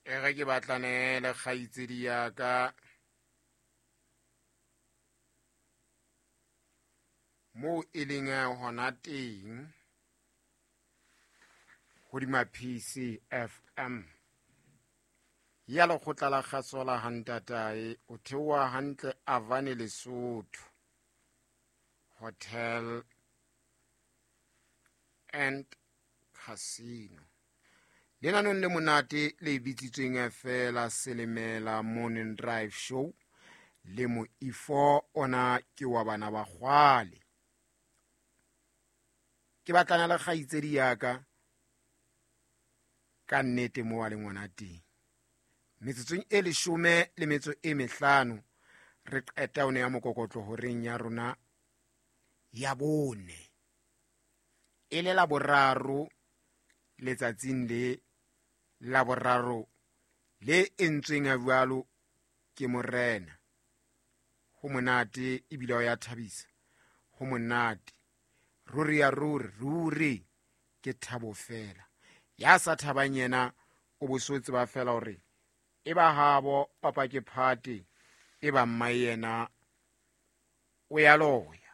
E re ke batlane le kgaitsedi ya ka moo e leng hona teng hodima PCFM ya lekgotla la kgaso la hantatae o theoha hantle Avane Lesotho Hotel and Casino. Lenanong le monate le bitsitsweng fela Selemela Morning Drive Show le moifo ona ke wa bana ba kgwale. Ke batlana le kgaitsedi ya ka ka nnete mo wa le ngwana teng. Metsotsong e 15 re qeta o ne ya mokokotlo horeng ya rona ya bone. E le la boraro letsatsing le la boraro le entsweng a jwalo ke morena. Ho monate ebile o ya thabisa. Ho monate. Ruri ya ruri, ruri ke thabo fela. Ya sa thabang yena o bo so tseba fela hore e ba habo papa ke phate, e ba mma yena o ya loya.